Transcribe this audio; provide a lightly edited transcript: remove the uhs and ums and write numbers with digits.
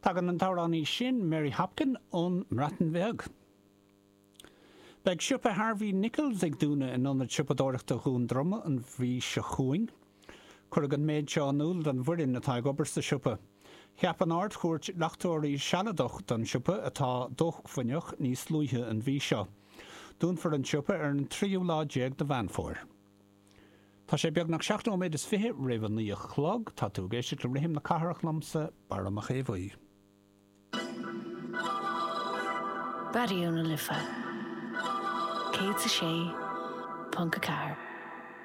Tagann an t-amhránaí sin, Mary Hopkin, ón mBreatain Bheag. Beidh siopa Harvey Nichols ag dúnadh in Ionad Siopadóireachta Dhún Droma an mhí seo chugainn. Cuireadh an méid seo in iúl don bhfoireann atá ag obair sa siopa. Cheap an Ard-Chúirt leachtóirí sealadach don siopa, atá dócmhainneach, níos luaithe an mhí seo. Dúnfar an siopa ar an tríú lá déag de Mheán Fómhair. Tá sé beagnach 7 nóiméad is 20 roimh a 9 a chlog. Tá tú ag éisteacht le Rithim na Cathrach liomsa, Barra Mac Aodha Bhuí. Raidió na Life 106.4.